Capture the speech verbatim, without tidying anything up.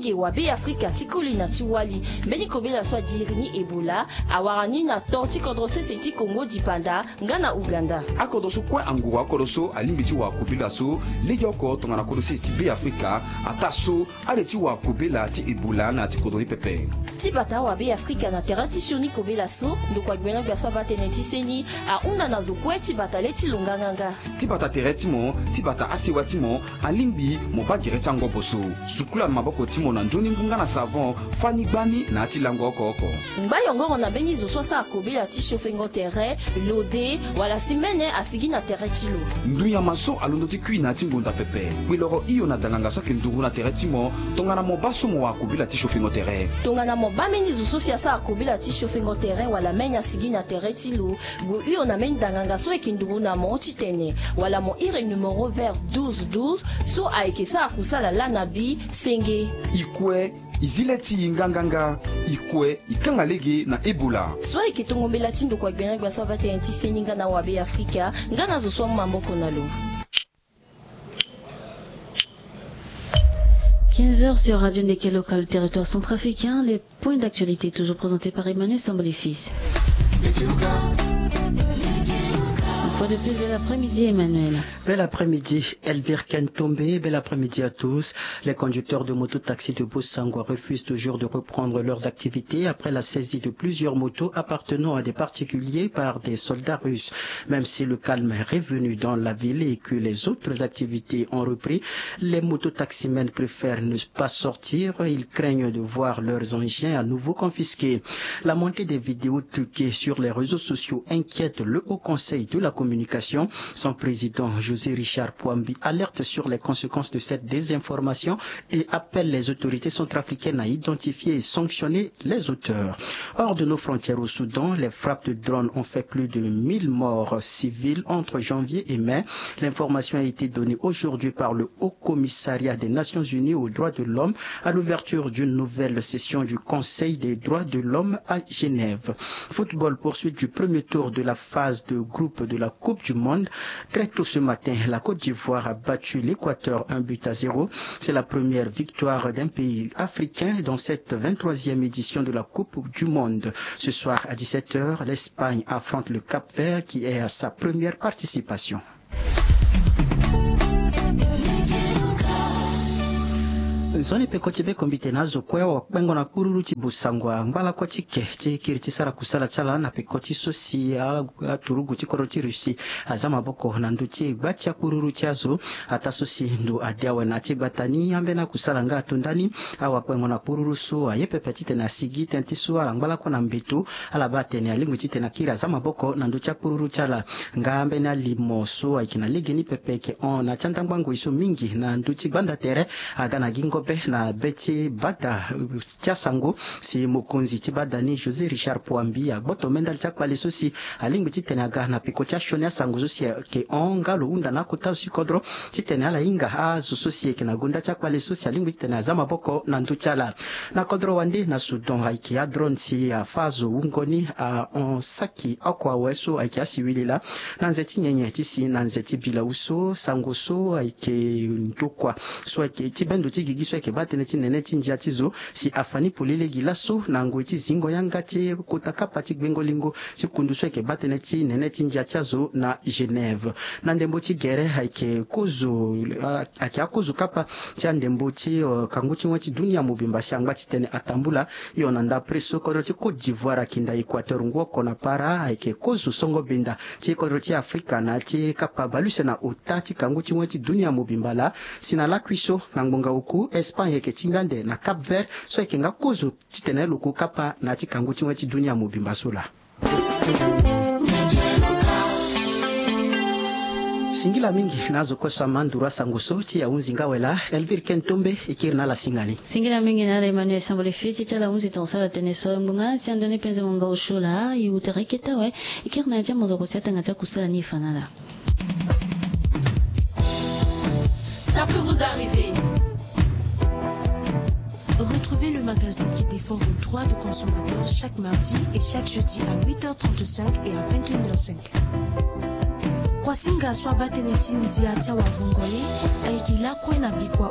E wabe afrika ti koli na ti wali mbeni kobela so adiri ni ebola awara ni na to ti kodro sese ti kongo dipanda nga na uganda. Akodro so kue anguru akodro so alingbi ti wara kobela so legeoko tongana kodro sese ti be afrika. Ataa so ale ti wara kobela ti ebola na ya ti kodro ni pepe. Ti bata awabe afrika na tere ti sioni kobela so ndokua gbena gbia so abaa tënë ti seni ahunda na zo kue ti bata le ti lo nganganga. Ti bata tere ti mo ti bata asewa ti mo alingbi mo baa gere ti angobo so. Sukula na maboko ti mo na nzoni ngu nga na savon. Fani gbani na ya ti lango oko oko. Ngba yongoro na mbeni zo so asara kobela ti siofengo tere lode wala si mene asigi na tere ti lo. Ndunyama so alondo ti kui na ya ti ngonda pepe. Kpeloro hio na danganga so ayeke nduru na tere ti mo. Tongana mo baa so mo wara kobela ti siofengo tere. Tongana mo baa mbeni zo so si asara kobela ti siofengo tere wala mene asigi na tere ti lo, gue hio na mbeni danganga so ayeke nduru na mo titene wala mo iri numero vert douze douze so ayeke sara kusala laa na bi senge. I kue, i zi le ti i nganganga. I kue, i kanga lege na ebola. So ayeke tongo mbela ti ndokua gbena gbia so abaa tënë ti seni nga na wabe afrika nga na zo so amu maboko na lo. Quinze heures sur Radio Ndeke Local, territoire centrafricain. Les points d'actualité toujours présentés par Emmanuel Sambolifis. Une fois de plus, bel après-midi, Emmanuel. Bel après-midi, Elvire Kentombe. Bel après-midi à tous. Les conducteurs de mototaxi de Bossangoa refusent toujours de reprendre leurs activités après la saisie de plusieurs motos appartenant à des particuliers par des soldats russes. Même si le calme est revenu dans la ville et que les autres activités ont repris, les mototaximens préfèrent ne pas sortir. Ils craignent de voir leurs engins à nouveau confisqués. La montée des vidéos truquées sur les réseaux sociaux inquiète le Haut Conseil de la communication. Son président, José Richard Pouambi, alerte sur les conséquences de cette désinformation et appelle les autorités centrafricaines à identifier et sanctionner les auteurs. Hors de nos frontières au Soudan, les frappes de drones ont fait plus de mille morts civils entre janvier et mai. L'information a été donnée aujourd'hui par le Haut Commissariat des Nations Unies aux droits de l'homme à l'ouverture d'une nouvelle session du Conseil des droits de l'homme à Genève. Football, poursuite du premier tour de la phase de groupe de la Coupe du Monde. Très tôt ce matin, la Côte d'Ivoire a battu l'Équateur un but à zéro. C'est la première victoire d'un pays africain dans cette vingt-troisième édition de la Coupe du Monde. Ce soir à dix-sept heures, l'Espagne affronte le Cap-Vert qui est à sa première participation. Nzoni peko ti be kombi tene azo kue wakpengo na kururu ti Bossangoa ngbalako ti ke ti kiri ti sara kusala ti ala na peko ti so si a- aturugu ti kodro ti Russie aza maboko na ndö ti gba ti akururu ti azo. Ataa so si ndo ade awe na ya ti gbata ni ambeni akusala nga ato ndani. Awakpengo na kururu so aye pepe titene asigi tënë ti so ala ngbalako na mbeto. Ala baa atene alingbi titene akiri aza maboko na ndö ti akururu ti ala. Nga ambeni alimo so ayeke na legeni pepe ayeke hon na ya ti andangba ngoi so mingi na ndö ti gbanda tere aga na gi ngobe na be ti bada ti asango si mokonzi ti bada ni José Richard Pouambi agboto mendali ti akpale so si alingbi titene aga na peko ti asioni asango so si ayeke hon nga lo hunda na akota zo ti kodro titene ala hinga azo so si ayeke na gonda ti akpale so si alingbi titene aza maboko na ndö ti ala. Na kodro wande na Soudan ayeke adrone si afâ azo wungo ni ahon saki oko awe so ayeke asiwili laa na nze ti nyenye ti si na nze ti bilau so sango so ayeke ndokua so ayeke ti bendo ti gigi so ayeke baa tënë ti nene ti ndia ti zo si afa ni polele gi laso na ngoi ti zingo yanga ti kota kapa ti gbengo lingo ti kundu so ayeke baa tënë ti nene ti ndia ti azo na Genève. Na ndembo ti gere ayeke kozo ayeke akozo kapa ti andembo ti kangu ti wen ti dunia mobimba si angba titene atambula. Hio na ndapre so kodro ti Côte d'Ivoire akinda Équateur ngu oko na para ayeke kozo songo benda ti kodro ti Afrika na ya ti kapa baluse na ota ti kangu ti wen ti dunia mobimba laa. Si na lakui so na ngbonga oku Espagne ayeke tingbi ande na Cap Vert so ayeke nga kozo titene lo ku kapa na ya ti kangu ti wen ti dunia mobimba so laa. Singila mingi na azo kue so ama nduru asango so ti ahunzi nga awe laa. Elvire Kentombe e kiri na ala singa ni. Singila mingi na ala Emmanuel Sambole Fiti ti ala hunzi tongaso ala tene so ngbonga si ando ni penze mo nga osio laa e wu tere kete awe. E kiri na ya ti amozoko si atanga ti akusala ni e fa na ala. Ça peut vous arriver. Retrouvez le magazine qui défend vos droits de consommateur chaque mardi et chaque jeudi à huit heures trente-cinq et à vingt et une heures cinq. Kuasinga so abaa tënë ti ndia ti awavungo ni ayeke lakue na bikua.